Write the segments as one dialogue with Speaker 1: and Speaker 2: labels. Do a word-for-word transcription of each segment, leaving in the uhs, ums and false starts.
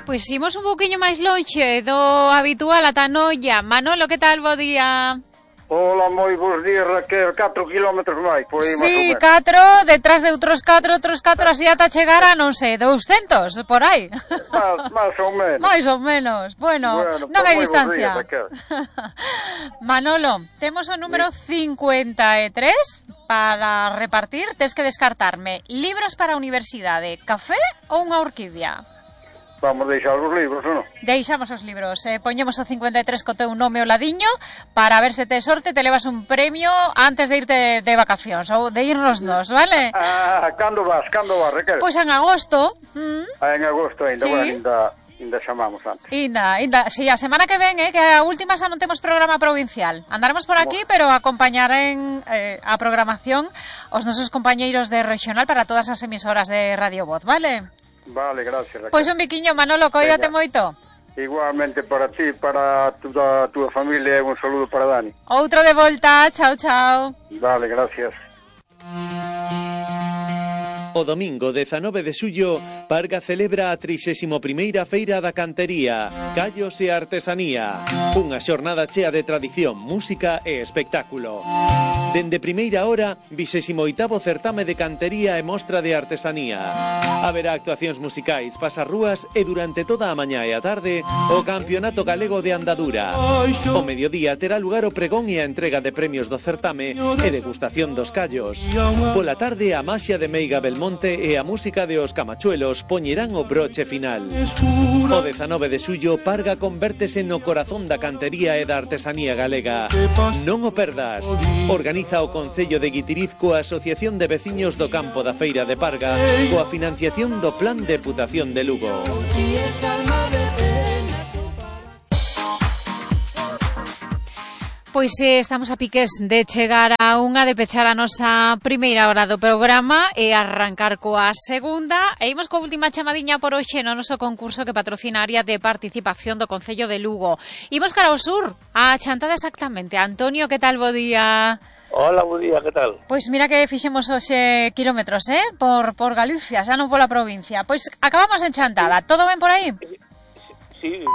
Speaker 1: Pois imos un pouquiño máis lonxe do habitual ata Noia. Manolo, que tal, bo día?
Speaker 2: Hola, moi bons días, Raquel. catro kilómetros máis, por aí,
Speaker 1: sí, catro, detrás de outros catro, outros catro, así ata chegar a, non sei, douscentos, por aí.
Speaker 2: Más, más ou menos.
Speaker 1: Mais ou menos. Bueno,
Speaker 2: bueno
Speaker 1: non hai distancia.
Speaker 2: Días,
Speaker 1: Manolo, temos o número sí. cincuenta e tres para repartir. Tes que descartarme libros para a universidade, café ou unha orquídea.
Speaker 2: Vamos deixar os libros, ou non?
Speaker 1: Deixamos os libros, eh, poñemos o cincuenta e tres co teu nome o ladiño para ver se te sorte, te levas un premio antes de irte de vacacións ou de irnos nos, vale?
Speaker 2: Ah, cando vas, cando vas, Raquel?
Speaker 1: Pois pues en agosto. ¿Mm?
Speaker 2: Ah, en agosto ainda,
Speaker 1: sí.
Speaker 2: Bueno, ainda, ainda chamamos antes.
Speaker 1: Ainda, ainda, si, sí, a semana que ven, eh, que a última xa non temos programa provincial. Andaremos por aquí, bueno. Pero acompañarán eh, a programación os nosos compañeiros de regional para todas as emisoras de Radio Voz, vale?
Speaker 2: Vale, gracias, Raquel.
Speaker 1: Pois un biquiño, Manolo, coídate moito.
Speaker 2: Igualmente para ti, para toda a túa familia, un saludo para Dani.
Speaker 1: Outro de volta, chao, chao.
Speaker 2: Vale, gracias.
Speaker 3: O domingo dezanove de xullo, Parga celebra a trixésima primeira Feira da Cantería, Callos e Artesanía. Unha xornada chea de tradición, música e espectáculo. Dende primeira hora, vixésimo oitavo certame de cantería e mostra de artesanía. Haberá actuacións musicais, pasarrúas e durante toda a mañá e a tarde o Campeonato Galego de Andadura. O mediodía terá lugar o pregón e a entrega de premios do certame e degustación dos callos. Pola tarde a maxia de Meiga Belmonte e a música de Os Camachuelos poñerán o broche final. O dezanove de xullo, Parga convértese no corazón da cantería e da artesanía galega. Non o perdas. Organiza o Concello de Guitiriz coa Asociación de Veciños do Campo da Feira de Parga coa financiación do Plan de Deputación de Lugo.
Speaker 1: Pois eh, estamos a piques de chegar a unha, de pechar a nosa primeira hora do programa e arrancar coa segunda. E imos coa última chamadiña por hoxe no noso concurso que patrocina a área de participación do Concello de Lugo. Imos cara ao sur, a chantada exactamente. Antonio, que tal, bo día?
Speaker 4: Hola, bo día, que tal?
Speaker 1: Pois mira que fixemos hoxe kilómetros, eh? Por, por Galicia, xa non pola provincia. Pois acabamos en chantada, todo ben por aí?
Speaker 4: Sí,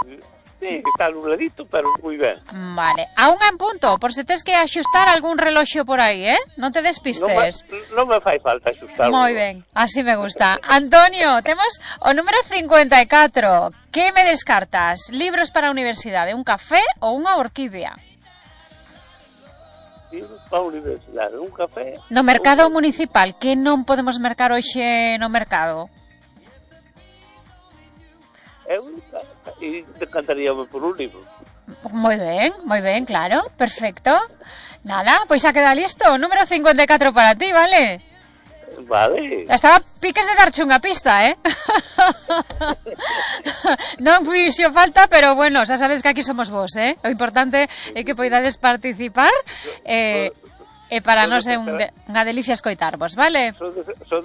Speaker 4: sí, está nubladito, pero moi ben.
Speaker 1: Vale, a unha en punto, por se tes que axustar algún reloxo por aí, eh? Non te despistes.
Speaker 4: Non me, non me fai falta axustar.
Speaker 1: Moi ben, así me gusta. Antonio, temos o número cincuenta e catro. Que me descartas? Libros para a universidade, un café ou unha orquídea?
Speaker 4: Libros para a universidade, un café...
Speaker 1: No mercado un... municipal, que non podemos mercar hoxe no mercado?
Speaker 4: Eu decantaríame por un libro.
Speaker 1: Moi ben, moi ben, claro, perfecto. Nada, pois xa queda listo. Número cincuenta e catro para ti, vale?
Speaker 4: Vale.
Speaker 1: Estaba piques de darche unha pista, eh? Non fixo falta, pero bueno, xa sabes que aquí somos vos, eh? O importante é que poidades participar eh, e para nós é un de, unha delicia escoitarvos, vale?
Speaker 4: Son de, son